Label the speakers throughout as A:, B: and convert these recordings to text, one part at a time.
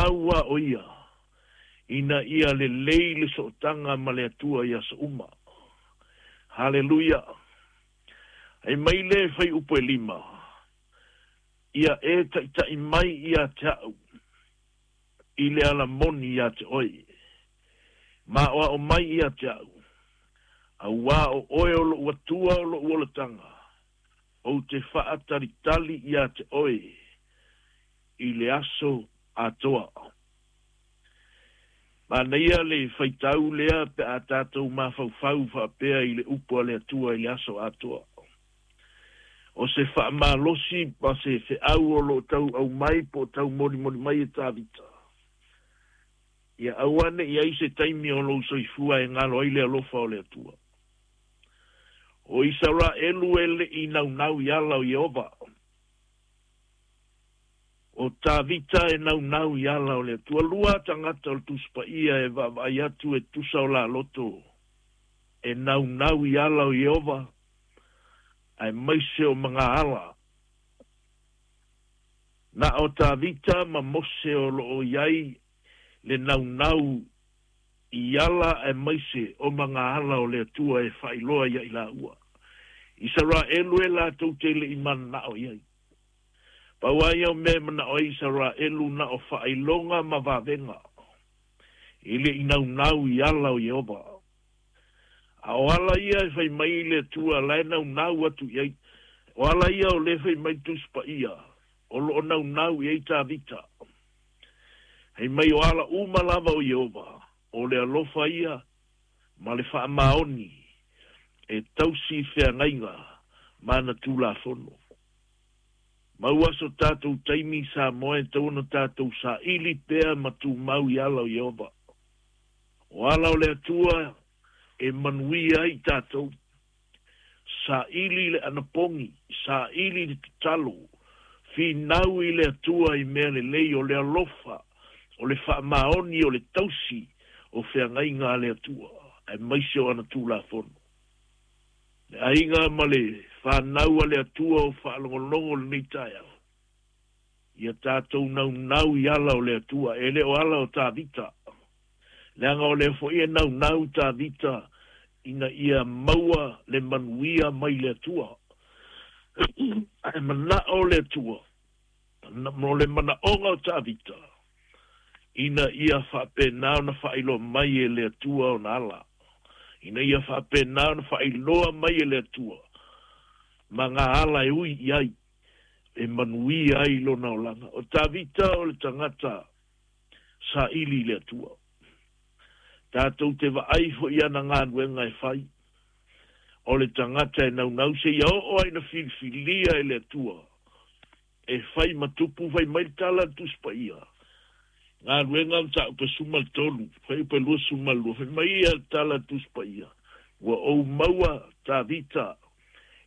A: naunau lava o ia ina ia lelei le sootaga ma le Atua i aso uma. Haleluia! Ai mai le fuaiupu e 5, ia e taitai mai ia te au i le ala moni ia te oe, ma o mai ia te au, auā o oe o lou Atua o lou olataga, ou te faatalitali ia te oe i le aso atoa. Manaia le faitau lea pe a tatou mafaufau faapea i le upu a le Atua i le aso atoa. O se faamalosi ma se feau o loo tau aumai po o tau molimoli mai e Tavita. Ia aua ne i ai se taimi o lou soifua e galo ai le alofa o le Atua. O Isaraelu e le i naunau i ala o Ieova. O Tavita e naunau i ala o le Atua. Lua tagata o le Tusi Paia e vaavaai atu e tusa o la loto e naunau i ala o Ieova, aemaise o magaala. Na o Tavita ma Mose o loo i ai le naunau i ala aemaise o magaala o le Atua e faailoa ia i laua. Isaraelu e latou te le i mananao i ai. Pau ai au mea e manao ai Isaraelu na o faailoga ma vavega i le i naunau i ala o Ieova. A o ala ia e fai mai le Atua la e naunau atu i ai. O ala ia o le fai mai Tusi Paia, o loo naunau i ai Tavita. Hei mai o ala uma lava o Ieova, o le alofa ia ma le faamaoni e tausi feagaiga ma ana Tulafono. Maua so tatou taimi Samoa e tatau ona tatou saili pea ma tumau i ala o Ieova. O ala o le Atua e manuia ai tatou. Saili le anapogi, saili le tatalo, finau i le Atua i mea lelei o le alofa, o le faamaoni o le tausi o feagaiga a le Atua, aemaise o ana Tulafono. Le aiga ma le fanau a le Atua o faalogologo lenei taeao, ia tatou naunau i ala o le Atua, e le o ala o Tavita. Leaga o lea foi e naunau Tavita ina ia maua le manuia mai le Atua. Ae manao le Atua, mo le manaoga o Tavita, ina ia faapena ona faailoa mai e le Atua ona ala. Ina ia faapena ona faailoa mai e le Atua ma ngā ala e ui i ai, e manuia ai lona olaga. O Tavita o le tagata saili i le Atua. Tatou te vaai foi ana galuega e fai. O le tagata e naunau se ia oo ai na filifilia e le Atua. E fai ma tupu, fai mai le tala le Tusi Paia. Galuega mataupu e 13, fuaiupu e 22, fai mai ia le tala le Tusi Paia. Ua ou maua Tavita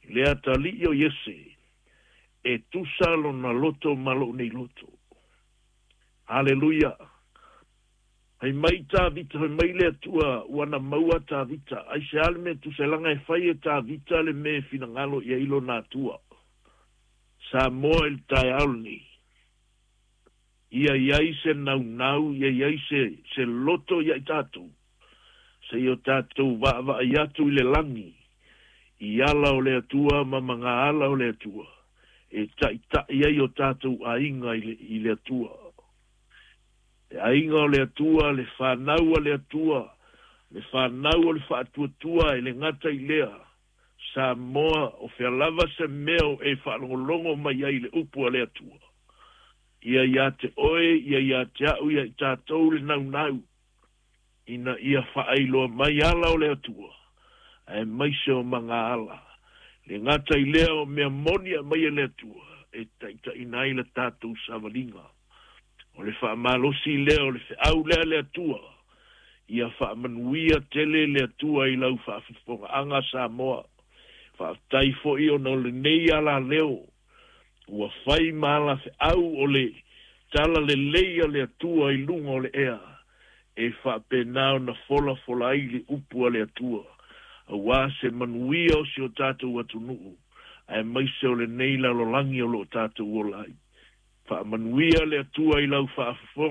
A: i le atalii o Iese, e tusa lona loto ma lou nei loto. Haleluia! Fai mai Tavita, fai mai le Atua, ua na maua Tavita. Aisea le mea tusa e laga e fai e Tavita le mea e finagalo i ai lona Atua. Samoa i le taeao lenei. Ia i ai se naunau, ia i ai se loto ia i tatou. Se i o tatou vaavaai atu i le lagi, i ala o le Atua ma magaala o le Atua, e taitai ai o tatou aiga i le Atua. Le aiga o le Atua, le fanau a le Atua, le fanau o le faatuatua e le gata i lea, Samoa o fea lava se mea o e faalogologo mai ai i le upu a le Atua. Ia ia te oe, ia ia te au, ia i tatou le naunau, ina ia faailoa mai ala o le Atua, aemaise o magaala. Le gata i lea o mea moni aumai e le Atua, e taitaiina ai la tatou savaliga. O le faamalosi lea o le feau lea le Atua, ia faamanuia tele le Atua i lau faafofogaaga Samoa. Faafetai foi ona o lenei alaleo, ua fai ma ala feau o le tala lelei a le Atua i luga o le ea, e faapena ona folafola ai le upu a le Atua, auā se manuia o si o tatou atunuu, aemaise o lenei lalolagi o loo tatou ola ai. Faamanuia le Atua i lau faafofoga.